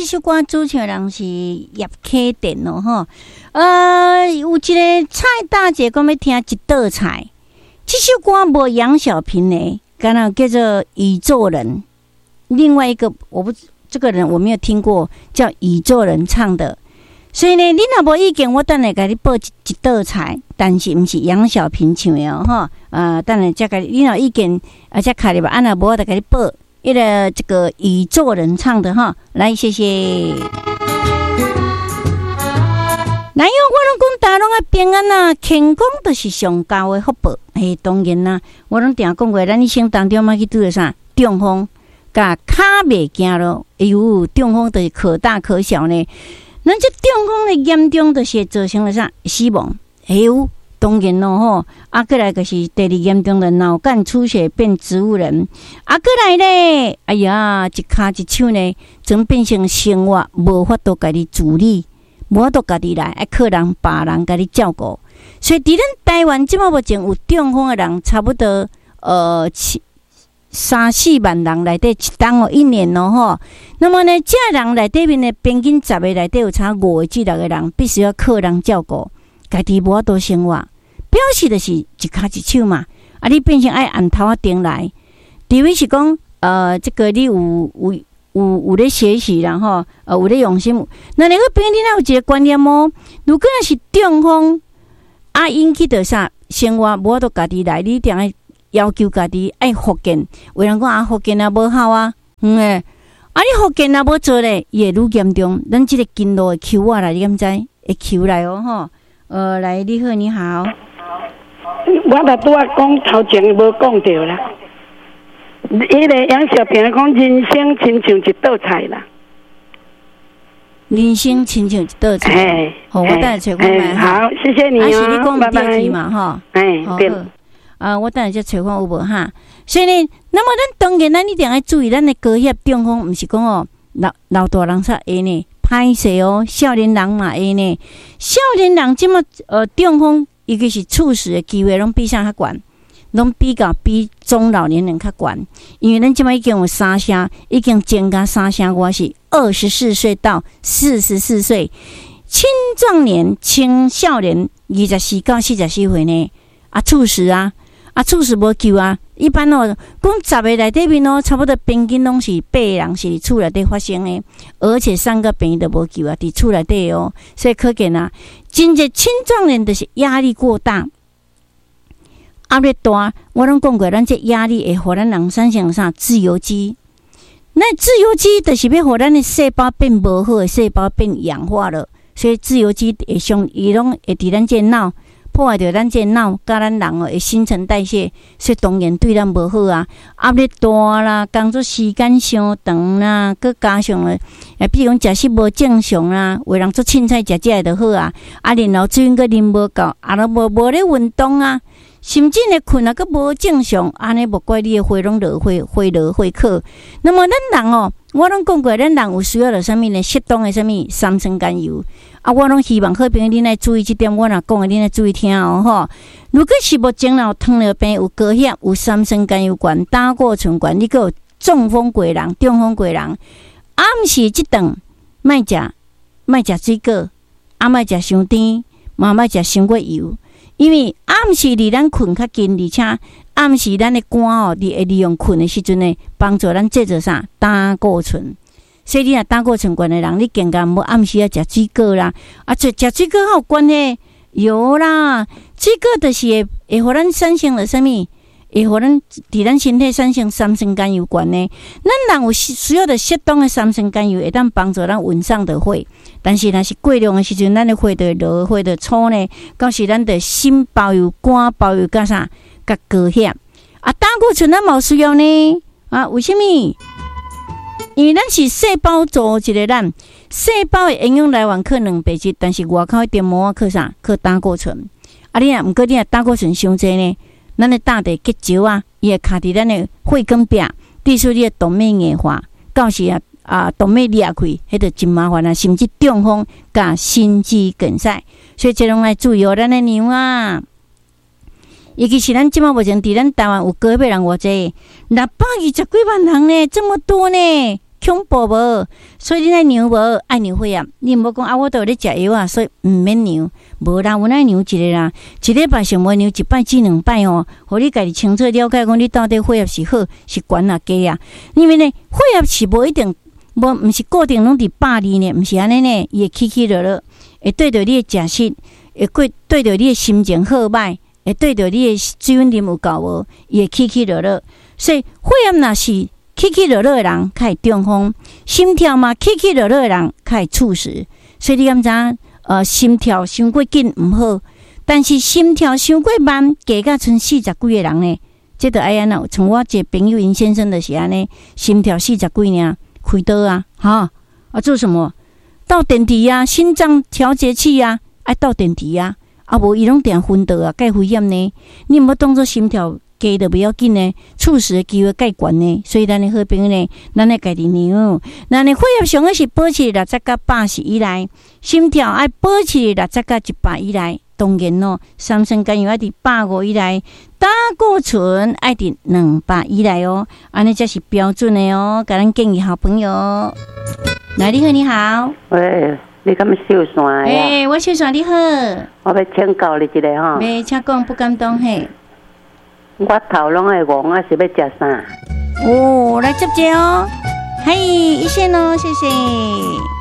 這首歌主唱人是葉啟田哦，吼。有一個蔡大姐講欲聽一道菜，這首歌無楊小平的，敢若叫做宇宙人。另外一個我不這個人我沒有聽過，叫宇宙人唱的。所以呢，你若無意見，我等下共你報一道菜，但是毋是楊小平唱的哦，吼。等下才共你，你若有意見啊，才敲入來，啊若無我就共你報彼個這個宇宙人唱的哈。來，謝謝。來喲，我攏講大家攏愛平安啊，健康就是上高的福報。嘿，當然啦，我攏定講過，咱一生當中莫去拄著啥中風，共跤袂行咯。哎喲，中風就是可大可小呢。咱這中風的嚴重，就是會造成了啥死亡？哎喲，當然咯吼。啊，閣來就是第二嚴重的腦幹出血變植物人。啊，閣來咧，哎呀，一跤一手呢，總變成生活無法度家己自理，無法度家己來，愛靠人別人共你照顧。所以，佇咱台灣這馬目前有中風的人，差不多七三四萬人內底一冬哦，一年哦吼。那麼呢，這人內底面呢，平均十個內底有差五個至六個人必須要靠人照顧，家己無法度生活，表示就是一跤一手嘛。啊，你變成愛按頭仔頂來，除非是講，這個你有咧學習啦吼，有咧用心。那你個朋友，你若有一個觀念哦，如果若是中風，啊引起著啥生活無法度家己來，你一定愛要求家己愛復健。有人講啊，復健也無效啊，嗯欸，啊你復健若無做咧，伊會愈嚴重。咱這個經絡會抾我來，你敢知？會抾來哦吼。來，你好，你好。我著拄仔講頭前無講著啦。彼個楊小平講人生親像一道菜啦。人生親像一道菜。好，我等下揣看覓。好，謝謝你。啊，是你講毋對去嘛？吼。哎，對。啊，我等下才揣看有無哈。所以呢，那麼咱當然咱一定愛注意，咱的高血壓中風，毋是講哦，老老大人才會呢，歹勢哦，少年人嘛會呢。少年人這麼中風，尤其是猝死的機會，攏比啥較懸？攏比較比中老年人較懸，因為咱這擺已經有三成，已經增加三成外是24歲到44歲青壯年、青少年24到44歲呢，啊猝死啊，啊猝死無救啊！一般哦，講十個內底面哦，差不多平均攏是八個人是佇厝內底發生的，而且送到病院都無救啊，佇厝內底哦，所以可見啊，真濟青壯年就是壓力過大。壓力大，我攏講過，咱這壓力會予咱人產生啥自由基？那自由基就是欲予咱的細胞變無好的細胞變氧化了，所以自由基會傷，伊攏會佇咱這腦破壞著咱這腦，佮咱人哦的新陳代謝，所以當然對咱無好啊。壓力大啦，工作時間傷長啦，閣加上咧，比如講食食無正常啦，有人做凊彩食食的就好啊，啊，然後水分閣啉無夠，啊，攏無咧運動啊。甚至呢，睏啊，閣無正常，按呢無怪你的血攏落血，血落血靠。那麼咱人哦，我攏講過，咱人有需要著啥物呢？適當的啥物三酸甘油啊，我攏希望好朋友恁愛注意這點，我若講的恁愛注意聽哦吼。如果是目前有糖尿病、有高血壓、有三酸甘油懸、膽固醇懸，你閣有中風過人、中風過人，暗時這頓莫食，莫食水果，啊莫食傷甜，嘛莫食傷過油。因為暗時離咱睏較近，而且暗時咱的肝哦，佇會利用睏的時陣呢，幫助咱製造啥膽固醇。所以你若膽固醇懸的人，你更加毋好暗時仔食水果啦。啊，食食水果較有關係？有啦，水果就是會予咱產生了啥物？會予咱佇咱身體產生三酸甘油懸呢。咱人有需要著適當的三酸甘油，會當幫助咱穩上的血。但是若是過量的時陣，咱的血就會落，血就粗呢。到時咱的心包油、肝包油，佮啥？佮高血壓。啊，膽固醇咱嘛有需要呢。啊，為啥物？因為咱是細胞組織的咱，細胞的營養來源靠蛋白質，但是外口的黏膜靠啥？靠膽固醇。啊，你若毋過你若膽固醇傷濟呢？咱的膽會結石啊，伊會卡佇咱的血管壁，致使你的動脈硬化，到時啊啊動脈裂開，彼就真麻煩啊，甚至中風佮心肌梗塞。所以這攏愛注意哦，咱的娘啊，尤其是咱這馬目前佇咱台灣有高血壓人偌濟，620幾萬人呢，這麼多呢，恐怖無？所以你愛量無？愛量血壓，你毋好講啊，我都有咧食藥啊，所以毋免量。無啦，阮愛量一下啦，一禮拜上無量一擺至兩擺哦，予你家己清楚了解講你到底血壓是好是懸抑低啊。因為呢，血壓是無一定，無毋是固定攏佇120呢，毋是按呢呢，伊會起起落落，會對著你的食食，會過對著你的心情好䆀，會對著你的水分啉有夠無，伊會起起落落。所以血壓若是起起落落的人，較會中風；心跳嘛起起落落的人，較會猝死。所以你敢知影？心跳傷過緊毋好，但是心跳傷過慢，加甲賰四十幾个人呢，這著愛按怎？像我一個朋友𪜶先生就是按呢，心跳四十幾爾，開刀啊，哈啊做什麼？鬥電池啊，心臟調節器啊，愛鬥電池啊，啊無伊攏定昏倒啊，蓋危險呢。你毋好當做心跳低就袂要緊呢，猝死的機會蓋懸呢。所以咱的好朋友呢，咱愛家己量。咱的血壓上好是保持60到80以內，心跳愛保持60到100以內。當然咯，三酸甘油愛佇150以內，膽固醇愛佇200以內哦，按呢才是標準的哦。共咱建議好朋友，來，你好，你好。喂，你敢秀山的？欸，我秀山，你好。我欲請教你一下吼。袂，請講，不敢當嘿。我頭攏會黃啊，是欲食啥？哦，來接者哦。嘿，一線哦，謝謝。